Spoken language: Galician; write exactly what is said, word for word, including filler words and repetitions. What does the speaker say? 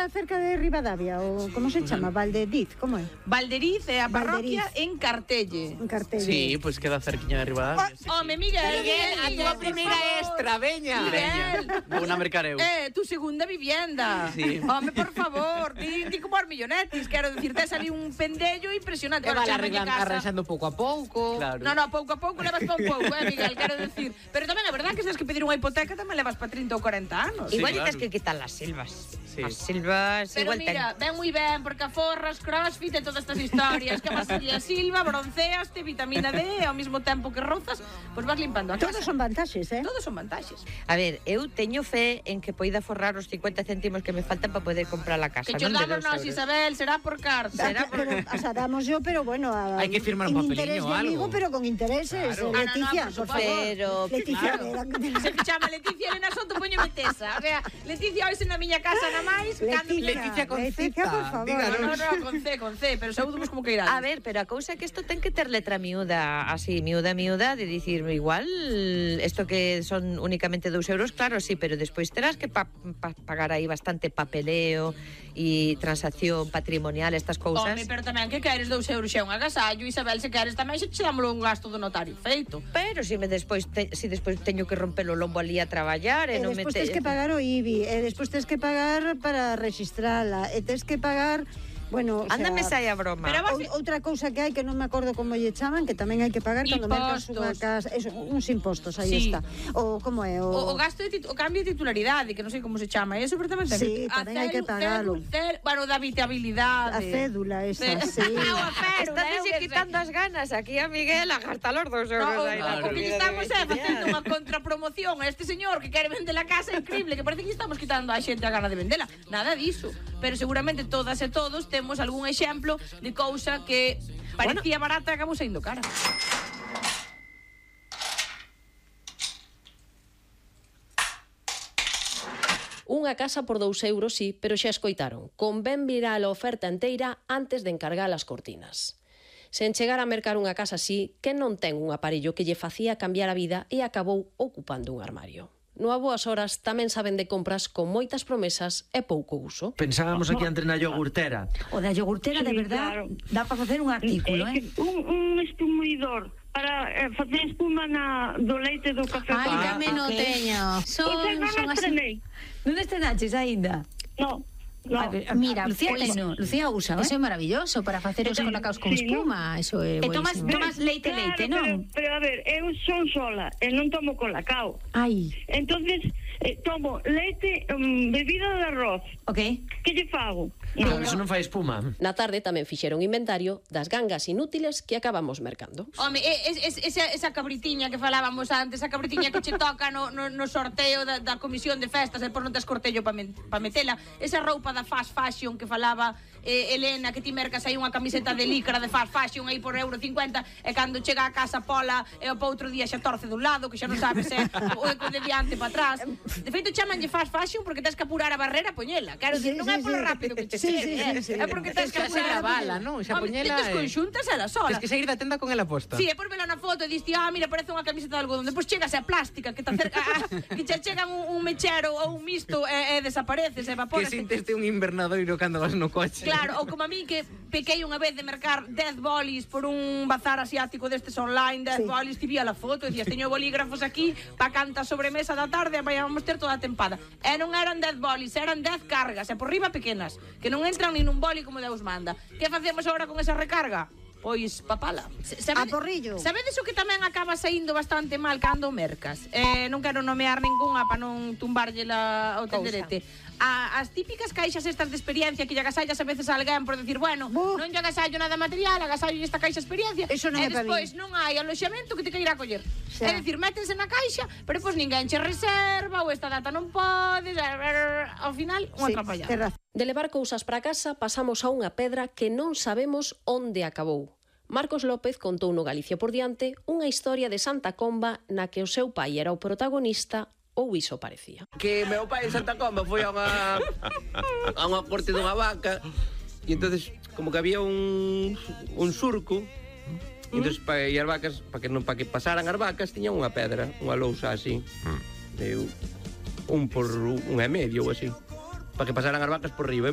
está cerca de Ribadavia, ou como se chama? Valderiz, como é? Valderiz é a parroquia en Cartelle. En Cartelle. Sí, pois queda cerquiña de Ribadavia. Home, Miguel, Miguel, a túa primeira extra, veña. Miguel. Vou na mercareu. Eh, tu segunda vivienda. Sí. Home, por favor, di, di como os millonetis, quero dicir, tes ali un pendello impresionante. E Bueno, vale chámalle arreglan- casa. arranxando pouco a pouco. Claro. No, no, pouco a pouco levas pa un pouco, eh, Miguel, quero dicir. Pero tamén é verdad que se tens que pedir unha hipoteca tamén levas pa trinta ou corenta anos. Sí, Igual claro. tens que quitar las silvas. Sí. As silvas Pero igual mira, ven moi ben, porque a forras, crossfit e todas estas historias que vas a silva, bronceaste, vitamina D, ao mesmo tempo que rozas, pois vas limpando a casa. Todos son vantaxes, eh? Todos son vantaxes. A ver, eu teño fe en que poida forrar os cincuenta céntimos que me faltan para poder comprar a casa. Que cho non de damos dos nós, euros. Isabel, será por carta. Ah, pero, o sea, damos yo, pero bueno, a, Hay que firmar en un interés papeliño de o algo. amigo, pero con intereses. Claro. eh, Ah, no, no, Leticia, por por, favor. Pero, Leticia, claro. de- Se que chama Leticia Elena Soto, poñeme tesa. O sea, Leticia hoxe na miña casa na máis, cando... Leticia con Leticia, Z, por favor. díganos. No, no, con C, con C, pero saúdamos como que irá. A ver, pero a cousa é que isto ten que ter letra miúda, así, miúda, miúda, de dicir, igual, isto que son únicamente dous euros, claro, sí, pero despois terás que pa, pa, pagar aí bastante papeleo e transacción patrimonial, estas cousas. Home, pero tamén que queres dous euros xa un agasallo, Isabel, se queres tamén xa che dámolo un gasto do notario feito. Pero se me despois te, si despois teño que romper o lombo ali a traballar e E non me despois te... tens que pagar o I B I, e despois tens que pagar para registrala, e tens que pagar, bueno, o sea, Ándame sai a broma. Pero vas- ou- outra cousa que hai que non me acordo como lle chaman, que tamén hai que pagar cando mercas unha Impostos. casa, eso, uns impostos, aí Sí. está. O como é o, O, o gasto de titu- o cambio de titularidade, que non sei como se chama, eso pero tamén ten Sí, a tamén hai que celu- pagalo. celu- cel- bueno, da habitabilidade. a cédula esa, Cé- sí. Ah, a cédula, Estás eu que sei. quitando as ganas aquí a Miguel a gastar los dos euros No, o, aí na o que lle comida estamos de é veciña. facendo unha contrapromoción a este señor que quere vender a casa increíble, que parece que estamos quitando a xente a gana de vendela. Nada diso. Pero seguramente todas e todos temos algún exemplo de cousa que parecía barata e acabou saindo cara. Unha casa por dous euros, sí, pero xa escoitaron. Convén mirar a oferta enteira antes de encargar as cortinas. Sen chegar a mercar unha casa así, que non ten un aparello que lle facía cambiar a vida e acabou ocupando un armario. No a boas horas tamén saben de compras con moitas promesas e pouco uso. Pensábamos aquí antes na iogurtera. O da iogurtera, Sí, de verdad, claro. dá para facer un artículo, É eh? que un, un espumidor para eh, facer espuma na, do leite do café. Ai, con tamén nata. o teño. Son, Pois eu non son así. estrenei. Non estrenaches aínda? No, no. A ver, Mira, Lucía, pois, teno, Lucía usa, Eso eh? é maravilloso para facer os Sí, colacaos con sí, espuma, eso é E tomas, buenísimo. tomas leite, Claro, leite, pero, non? pero a ver, eu son sola e non tomo colacao. Ai, Entonces, eh, tomo leite, um, bebida de arroz. ok. Que lle fago? Claro, eso non fai espuma. Na tarde tamén fixeron inventario das gangas inútiles que acabamos mercando. Home, es, es, esa, esa cabritiña que falábamos antes, esa cabritiña que che toca no, no, no sorteo da, da comisión de festas, e por non tes cortello para pa metela, esa roupa da fast fashion que falaba eh, Elena, que ti mercas aí unha camiseta de licra de fast fashion aí por euro cincuenta, e cando chega a casa pola e o outro día xa torce dun lado, que xa non sabes se o é de diante para atrás. De feito chamanlle fast fashion porque tens que apurar a barrera a poñela. Quero Sí, dicir, non sí, é polo sí. rápido que che Sí, chegue, sí, eh. sí, sí. É porque tens que Tens que apurar ser a a bala, barrera. non? Xa Home, poñela Tens e- conxuntas ela sola. Tens que seguir da tenda con ela posta. Sí, e por vela na foto e diste, ah, mira, parece unha camiseta de algodón. Depois chegas a plástica, que te acerca, ah, que che chegan un, un mechero ou un misto e, e desapareces, Que evaporas. sinteste un invernadoiro cando vas no coche. Claro, ou como a mí que pequei unha vez de mercar dez bolis por un bazar asiático destes online, dez Sí. bolis, ti vía a foto e dicías, teño bolígrafos aquí pa canta sobremesa da tarde e vamos ter toda a tempada. E non eran dez bolis, eran dez cargas, e por riba pequenas, que non entran nin nun boli como Deus manda. Que facemos agora con esa recarga? Pois papala. Se- A sabede- porrillo. Sabedes o que tamén acaba saindo bastante mal cando mercas? Eh, non quero nomear ningunha para non tumbarlle la, o tenderete. A, as típicas caixas estas de experiencia que lle agasallas a veces a alguén por decir, bueno, Buf. non lle agasallo nada material, agasallo esta caixa experiencia. Eso non e é pa despois non hai aloxamento que te queira coller. Xa. É dicir, métense na caixa, pero pois ninguén che reserva, ou esta data non podes, ao final, unha Sí, atrapallada. tes razón. De levar cousas para casa pasamos a unha pedra que non sabemos onde acabou. Marcos López contou no Galicia por diante unha historia de Santa Comba na que o seu pai era o protagonista, ou iso parecía. Que meu pai en Santa Comba foi a unha a unha corte dunha vaca e entonces como que había un un surco e entonces pa, e as vacas para que non para que pasaran as vacas tiñan unha pedra, unha lousa así. De un por un e medio ou así. Para que pasaran as vacas por riba.